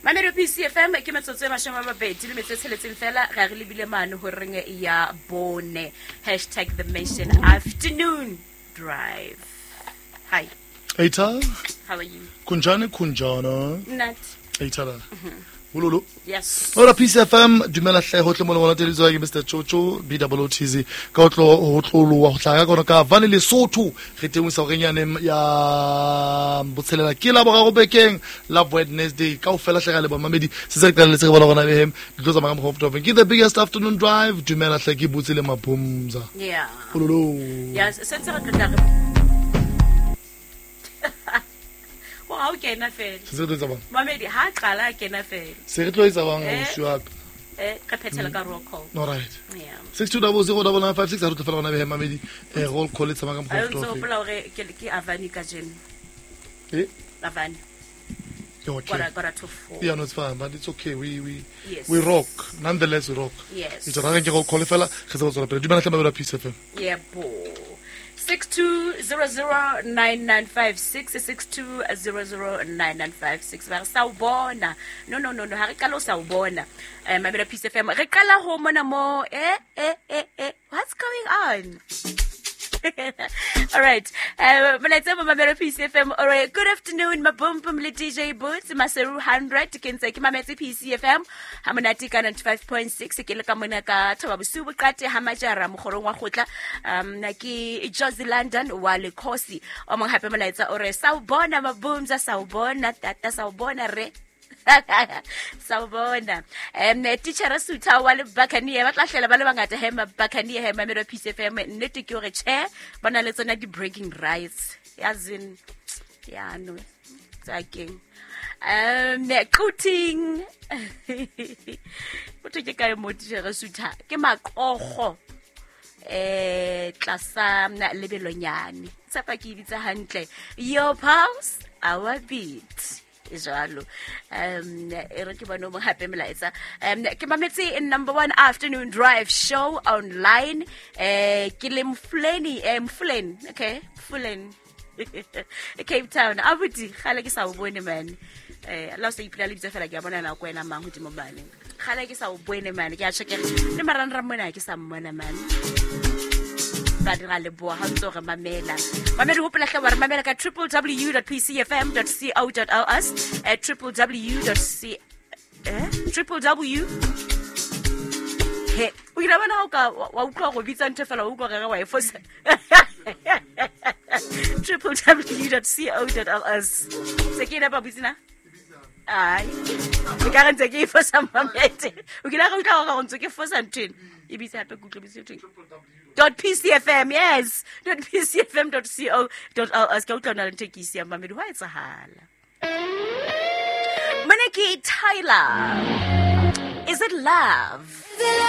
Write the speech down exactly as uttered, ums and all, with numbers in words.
Mamelodi P C F M ke metsotso e mashome a mabedi le metso e tsheletseng fela re re lebile mane horeng ya bone. Hashtag the Mention Afternoon Drive. Hi. Eita. How are you? Kunjani kunjana. Nat. Eita. Ululu. Yes. Ora P C F M dumela hle ho tle mo le bona ke Mister Chocho B O O T Z ka otlo ho tloloa ho hlaka ka ka vane Lesotho re teng sa renyane ya botshelela ke la boraro bekeng la Wednesday ka ofela hle ga le mamedi se se re qaletse re bona gona behem di tlo tsamaya ka mokgwa ke the biggest afternoon drive dumela hle ke botse le Mabumza. Yeah. Ululu. Yes, se ntse re tla re ha o kena fela. Se re tlo etsa bang? Mamedi ha qala kena fela. Se re tlo etsa bang ausi wa ka? Eh, re phethela ka roll call. All right. Yeah. six two zero zero nine nine five six ha re tlo fela gona behe mamedi eh roll call e tsamaya ka mokgwa o. Ntse hopola hore ke ke Avani ka jeno. Eh? Avani. Okay. Quarter, quarter to four. Yeah, no, it's fine, but it's okay. We we yes. we rock. Nonetheless, we rock. Yes. It's a roll call fela re se tswela pele. Dumela hle mamedi P C F M. Yeah, bo. six two zero zero nine nine five six six two zero zero nine nine five six ba sawubona no no no no ha re qala o sawubona eh Mamela P C F M re qala ho mona mo eh eh eh eh what's going on? All right. Uh, Mamela P C F M. All right. Good afternoon, Mabumbum le D J Boots, Maseru one hundred ke ntse ke mametse P C F M. Ha monate ka ninety-five point six ke le ka mona ka Thaba Bosiu boqate ha majara mogorong wa gotla. Um na ke Josie London wa Lekhosi. O mong hape molaetsa o re sawubona Mabumza, sawubona tata, sawubona re. Sawubona. Um teacher Sutha wa le Bakanie ba tla hlela ba le bangata he Bakanie he Mamela P C F M nnete ke hore che bana le tsona di breaking rights yazin ya no tsakeng um quoting botho ke kae mo teacher Sutha ke maqogo eh tlasa lebelonyane tsapa ke bitsa hantle your pulse our beat jalo um e re ke bone mo hape melaetsa um ke mametse in number one afternoon drive show online eh ke le Mfuleni eh Mfuleni okay Mfuleni Cape Town abuti gale ke sa o bone man eh la se ipila le bitsa fela ke a bona na go wena mang godimo mane gale ke sa o bone man ke a check le maranra mona ke sa mmona man ba dira le boa ha ntse re mamela mamedi hopola hle wa re mamela ka w w w dot p c f m dot co dot l s at w w w dot c eh w w he o ile bona ha o ka wa utlwa go bitsa ntho fela o utlwa re wa e fosa w w w dot co dot l s se ke ina ba butsina ai ke ka re ntse ke e fosa mamete o kile ga utlwa go ntse ke fosa ntho e bitsa hape ke utlwa bitsa ntho dot pcfm yes dot pcfm dot co dot l s ka utlwa na le nthekisi ya mamedi hwa etsahala mone ke Tyler. Is it love?